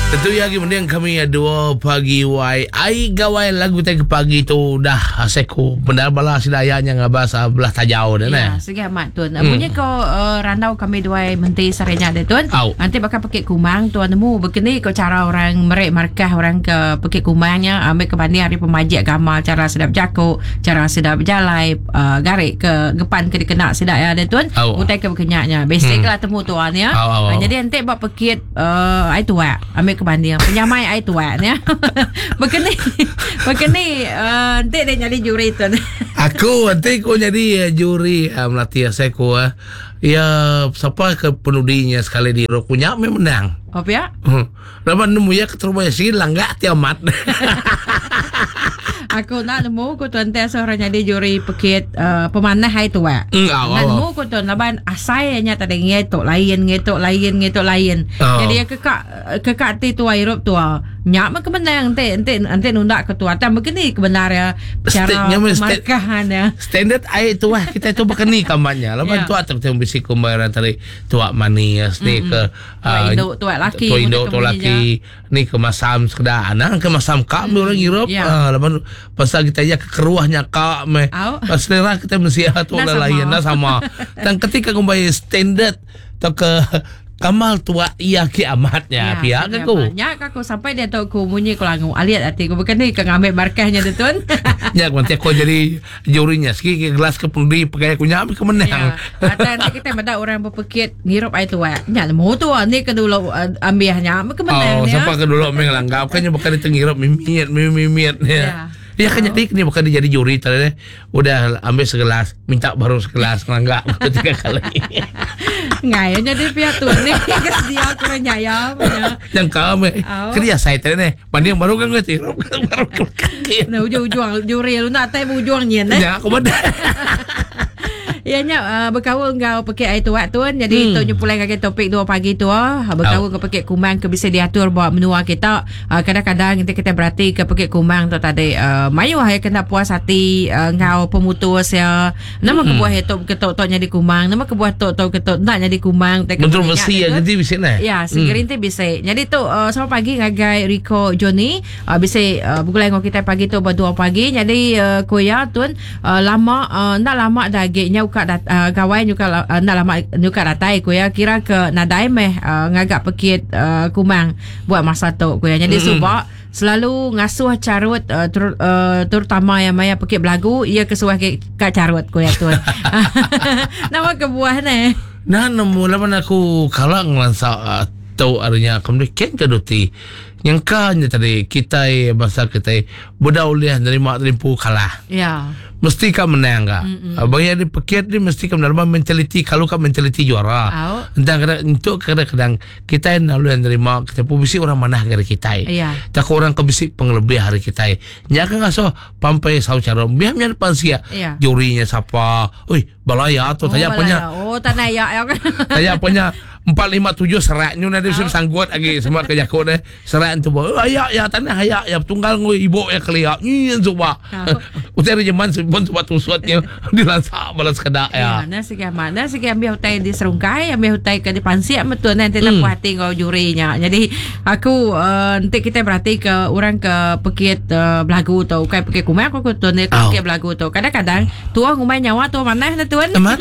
Tentu ya lagi mending kami dua pagi wai ai gawai lagu tai ke pagi tu dah seku bendar bala sida aya nya ngabas ah, belah tajau dah neh. Ya, segi amat tun. Hmm. Bunyi ko uh, randau kami duai menti sarinya deh tun. Nanti bakal pekit kumang tuan nemu begini ko cara orang merik markah orang ke pekit kumangnya ambil ke banding hari pemajik agama cara sedap jaku, cara sedap berjalai, uh, garik ke gepan ke dikena sida ya deh tun. Utai ke bekenyaknya. Basic lah temu tuan ya. Au, au, au. Uh, jadi nanti buat pekit uh, ai tuak ambil ke banding penyamai ai tuak ni begini begini uh, nanti dia jadi juri tu aku nanti aku jadi eh, juri uh, melatih saya aku uh, ya siapa ke penudinya sekali di rokunya memang menang oh ya hmm. Laban nemu ya keterubah ya sigi langgak ti amat. Aku nak nemu ku tuan teh seorang jadi juri pekit uh, pemanah hai tua. Mm, au, Nak au, nemu ku tuan laban asai nya tadi ngai tu lain ngai tu lain ngai tu lain. Oh. Jadi ya kekak kekak ti tua hirup tua. Nya mah kemenang enti enti enti nunda ke tua tang begini kebenar ya State cara nya meh state- pemarkahan ya. Standard ai tuah kita tu bakani kamannya. Laban Ya. tuah tu kita bisi kumbaran tadi tuak manis ni ke Tuak indu, tuak laki Tuak indu, mun tuak deka laki. Ni ke masam sekeda. Anang ke masam ka meh orang ngirup. Ya. Ah, laban pasal kita iya ke keruh nya ka meh. Au. Pas selera kita mensia tu Enda lah sama. lain enda sama. Tang ketika ngumbai standard tauka kamal tuak iya ke amat nya pia ke ku. Nya ka aku sampai diatu ku munyi ku langu alit ati ku bukan ni ke ngambi markah nya tu tun. Nya ku nanti aku jadi Juri nya sigi ke gelas ke pendi pegai aku nya ke menang. Ya. Atau nanti kita meda orang berpekit ngirup air tuak. Nya nemu tu ni ke dulu eh, ambiah nya ke menang Oh, ya. siapa ke dulu meh langgap kan nya bukan dia ngirup mimit mimit ya. Ya. Ya kan jadi ni bukan dia jadi juri tadi udah ambil segelas minta baru segelas ngelanggap tiga kali. Ngai jadi pihak tu ni ke sedia kurang nyaya punya. Yang kami Oh. kedia saya tadi ni Banding baru kan ngerti. Baru kaki. Nah, ujung-ujung juri lu nak tai ujung nyin eh. Ya, aku benar. Ya nya uh, berkaul enggau pekit air tuak tuan. Jadi tu nyepulai ngagai topik 2 pagi tu ah berkaul ke pekit kumang ke bisa diatur buat menua kita. Uh, kadang-kadang kita kita berarti ke pekit kumang tu tadi uh, mayuh ya kena puas hati uh, enggau pemutus ya. Nama kebuah itu ketok tok nyadi kumang, nama kebuah tok tok ketok nak nyadi kumang. Kontroversi ya jadi bisa nah. Ya, segeri hmm. bisa. Jadi tu uh, selamat pagi ngagai Rico Johnny. Uh, bisa uh, bergulai dengan kita pagi tu berdua pagi. Jadi uh, kuya tun uh, lama uh, nak lama dah gignya uka dat, uh, gawai nyuka uh, nak lama nyuka datai kuya kira ke nadai meh uh, ngagak pekit uh, kumang buat masa tu kuya. Jadi subak selalu ngasuh carut uh, ter, uh, terutama yang maya pekit belagu ia kesuah ke kat carut kuya tun. Nama kebuah ne. Nah nemu laban aku kala ngelansa uh, tau arinya kemudian ken ke duti. Nyangka nya tadi kitai bangsa kitai beda ulih nerima terimpu kalah. Ya. Mesti ka menang ka. Bagi di pekit ni mesti ka menang mentaliti kalau ka mentaliti juara. Au. Entang kadang untuk kadang-kadang kita nak ulih nerima kita pun bisi orang manah dari kita. Ya. Tak orang ke bisi pengelebih hari kita. Nya kan ngaso pampai sau cara biar nya depan sia. Ya. Jurinya siapa? Oi, balaya tu tanya punya. Oh, tanah ya ya kan. Tanya punya 4 5 7 seraknya nanti oh. sanggup lagi semua kerja aku deh. Serak tu oh, ayak ya tanah ayak ya tunggal ngui ibu ya kelia. Ni zuba. Oh. Utai rejeman pun sebab tusutnya dilansak balas kedak Ya, ya. nah segi amat. Nah segi ambil hutai di serungkai, ambil hutai ke di pansiak betul nanti tak puas hati kau jurinya. Jadi aku uh, nanti kita berarti ke orang ke pekit uh, belagu tu, bukan pekit kumai aku tu ni Au. pekit belagu tu. Kadang-kadang tua ngumai nyawa tua mana dah tuan? Amat?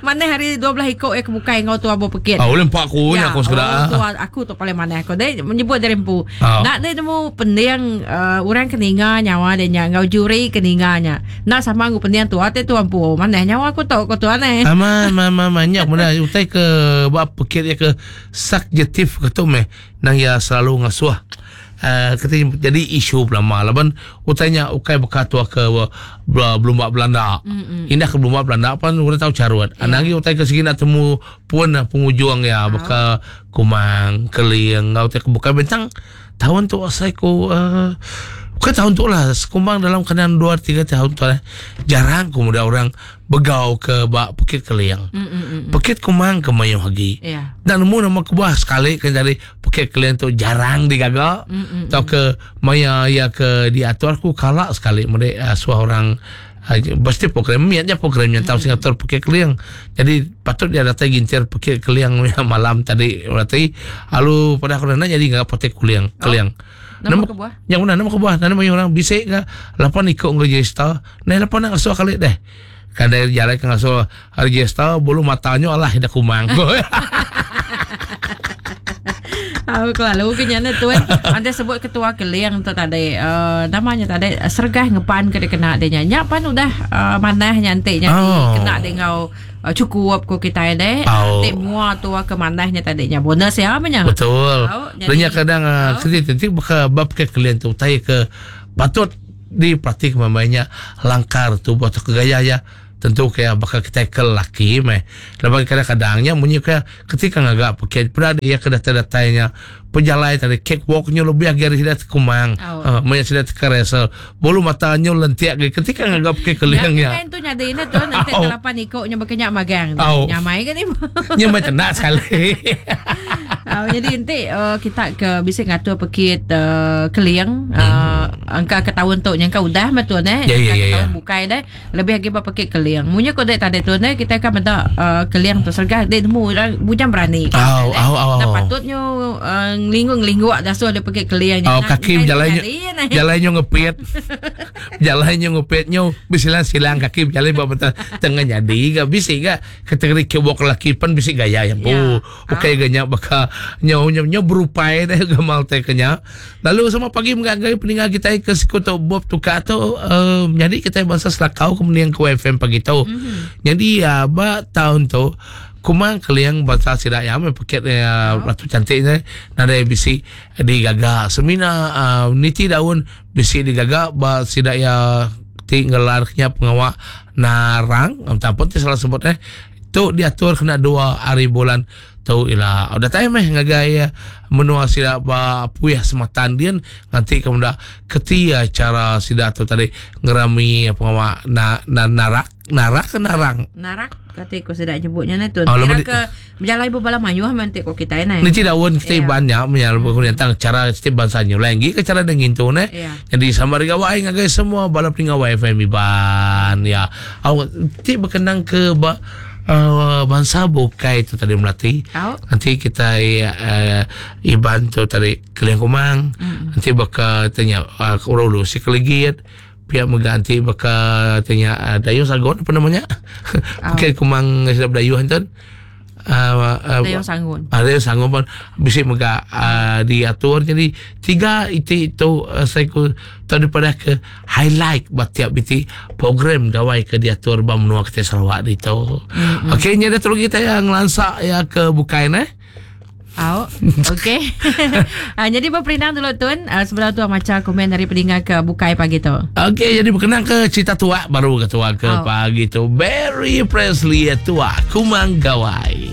mana hari 12 ikut eh kebukai kau tua berpekit. Ah, boleh empat aku ya, aku sekedak. Oh, tu aku tu paling mana aku dia menyebut dari empu. Oh. Nak dia temu pending uh, orang keninga nyawa dia nya ngau juri keninganya. Nak sama aku pending tu ate tu empu. Mana nyawa aku tu aku tu aneh. Ama ma ma banyak benda utai ke bab pekit ya ke subjektif ke tu meh nang ya selalu ngasuh. Uh, kata jadi isu lama laban utainya ukai beka tua ke belum bak Belanda. Mm-mm. Indah ke belum bak Belanda pan orang tahu carut. Yeah. Anangi utai ke segi nak temu pun ah, penghujung ya beka kumang keling ngau utai ke bukan bentang tahun tu asai ku uh, bukan tahun tu lah sekumbang dalam keadaan 2 3 tahun tu lah jarang ku muda orang begau ke bak Bukit Keliang. Mm-mm. Bukit Kumang ke Mayuh lagi. Ya. Dan nemu nama kebuah sekali kan dari Bukit Keliang tu jarang digaga. Atau ke maya ya ke diatur aku kalak sekali mereka uh, suah orang Pasti program miat nya program nya tau Singapura pekit keling. Jadi patut dia datai gintir pekit keling malam tadi berarti alu pada aku nanya jadi ngak potek kuling keling. Oh. Nama kebuah? Yang mana nama kebuah? Nama mayuh orang bisik ke lapan ikut ngeregister. Nah lapan nak ngasuh kali deh. Kadai jalan ke ngasuh register bulu matanya alah dah kumang. Aku kelalu ke nyana tuan. Anda sebut ketua keling tu tadi. Uh, namanya tadi sergah ngepan ke dikena dia nya. Nya pan udah uh, manah nya enti nya oh. kena dia ngau uh, cukup ko kita deh. Oh. Enti mua tua ke manah nya tadi nya bonus ya apa nya. Betul. Oh, jadi, kadang uh, oh. Ketik baka bab ke keling tu tai ke patut diperhati ke langkar tubuh atau ke gaya ya. Tentu ke baka kitai ke lelaki meh. Laban kadang-kadang nya munyi ke ketika ngaga pekit peda dia ke datai-datai nya pejalai tadi cake walk nyu lebih agi ari sida tekumang. Oh. Uh, maya sida tekeresel. Bulu mata nyu lentik agi ketika ngaga pekit keling nya. nya. tu nyadi ne tu nanti Au. kelapan iko nya baka nya magang. Au. Nyamai ke ni. Nya meh tenak sekali. Uh, jadi enti uh, kita ke bisi ngatur pekit uh, keling uh, angka ke tahun tu nyangka udah meh tu ne. Ya, ya, Angka ke ya, ya. tahun bukai deh. Lebih agi ba pekit keling. Munyi ko dek tadi tu ne kita akan meda uh, keling tu sergah dek nemu orang bujang berani. Au, au, au, Nah au. patutnya uh, ngelingu-ngelingu dah suruh dia pekit keling. Oh, kaki berjalan jalan nyo ngepit. Jalan nyo ngepit nyo bersilang-silang kaki berjalan buat betul tengah jadi ga bisi ga kategori kebok laki pan bisi gaya yang bu. Ya. Okey ga nya baka nyo nyo nyo berupai deh gamal teh kenya. Lalu sama pagi mengagai peninggal kita ke sekutu Bob tukar tu uh, jadi kita bangsa Selakau kemudian ke FM pagi tu. Mm-hmm. Jadi uh, ba tahun tu kumang keliang bangsa sidak ya me paket uh, Oh. ratu cantik ni nadai bisi digaga semina uh, niti daun bisi digaga ba sidak ya ti ngelarnya pengawak narang entah pun ti salah sebut eh tu diatur kena dua hari bulan tu ila udah time meh ngagai eh, menua sida ba puih sematan dian nanti kemuda ketia cara sida tu tadi ngerami pengawak na, na narak narak ke narang Narak kata ko sedak nyebutnya ne tu. Oh, Kira lepas ke berjalan bala mayuh nanti ko kita ne. Ni tidak daun kita Ya. banyak menyalur tentang cara setiap bangsa nyu lagi ke cara dengan tu ne. Ya. Jadi sama dengan wai ngagai semua bala peninggal YFM Iban ya. Awak ti berkenang ke ba uh, bangsa bukai tu tadi melati. Au. Nanti kita uh, Iban tu tadi Keliang Kumang. Mm. Nanti baka tanya uh, Urulu si Keligit pihak mengganti baka tanya uh, Dayung Sagon apa namanya? Au. Pakai Kumang sedap Dayung tu. Uh, uh, Dayung Sangun. ada yang sanggup pun bisa mega uh, diatur jadi tiga itu itu uh, saya ku daripada ke highlight buat tiap biti program gawai ke diatur ba menua kita Sarawak itu. Mm-hmm. Okey ni ada terus kita yang lansak ya ke bukai ne. Au. Okey. Ah, jadi berperindang dulu tun. Ah, sebelum tu macam komen dari pendengar ke Bukai pagi tu. Okey jadi berkenaan ke cerita tua baru ke tua ke Oh. pagi tu Barry Presley tua Kumang Gawai.